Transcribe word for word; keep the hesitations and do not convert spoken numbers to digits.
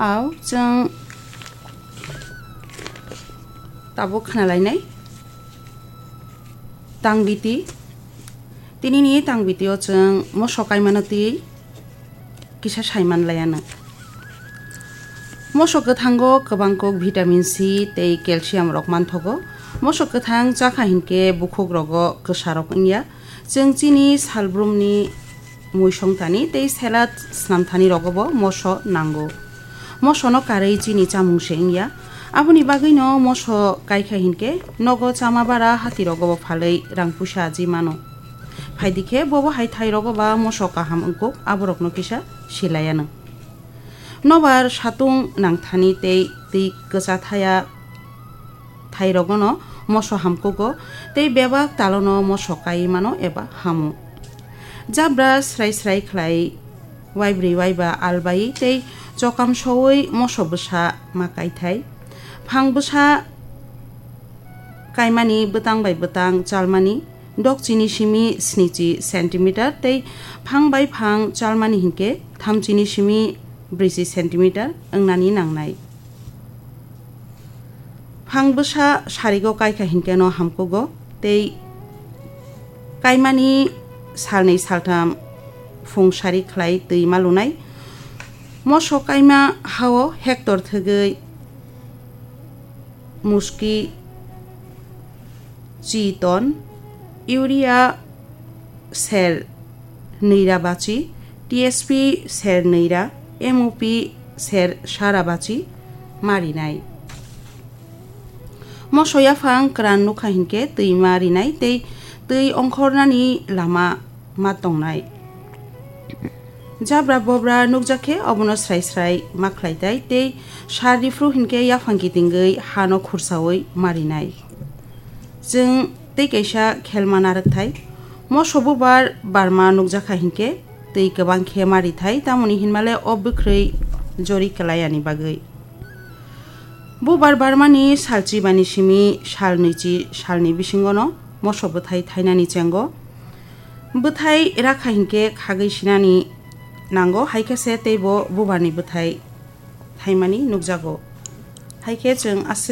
Au chwng tabuk khna lainai tangbiti. Tinini tangbitio chwng moso kaimano twi kisa saiman laiano. Moso kwthango kwbang kok vitamin C tei calcium rok manthogo. Moso kwthang chakha hinkhe bukhuk rogo kwsa rok wngya. Chwng chini salbrumni muisong thani tei salad snam thani rogobo moso nango. Mosono karwi chini chamung se wngya. Aboni bagwino moso kaikha hinkhe nogo chama bara hati rogobo phalwi rang puisa aji mano. Phaidi khe bobo hai thai rogo ba moso kaham wngkuk aborokno kisa silaiano. Nobar satung nangthani tei twi kwcha thaya thairogono moso hamkugo tei bebak talono moso kai mano eba hamo. Jabra srai srai khlai waibrwi waiba albai tei chokam sowi moso bwsa ma kaithai. Phang bwsa kaimani bwtang bai bwtang chalmani dokchini simi snichi centimeter tei phang bai phang chalmani hinkhe thamchini simi brwichi centimeter wngnani nangnai. Phang bwsa sarigo kaikha hinkhe no hamkugo tei kaimani salnwi saltham phung sari khlai twi ma lunai. Moso kaima hao hector thwgwi muski chi ton, urea ser nwi ra bachi, T S P ser nwi ra, M O P ser sa ra bachi ma rinai. Moso yaphang kwran nukha hinkhe twi ma rinai tei twi ongkhornani lama ma tongnai. Jabra bobra nukjak khe obono srai srai ma khlai tai tei sar riphru hinkhe yaphang kitingwi hano khursaui ma rinai. Chwng tei kaisa khelma narwkthai. Moso bubar barma nukjakha hinkhe twi kwbang khe ma rithai, tamoni hinmale o bwkhrwi jori kwlai yani bagwi. Bubar barmani sal chibani simi sal nwichi salni bisingono moso bwthai thainani chengo. Bwthai rakha hinkhe khagwi sinani nango, hai khe se teibo bubarni bwthai thaimani nukjago. Hai khe chwng aswk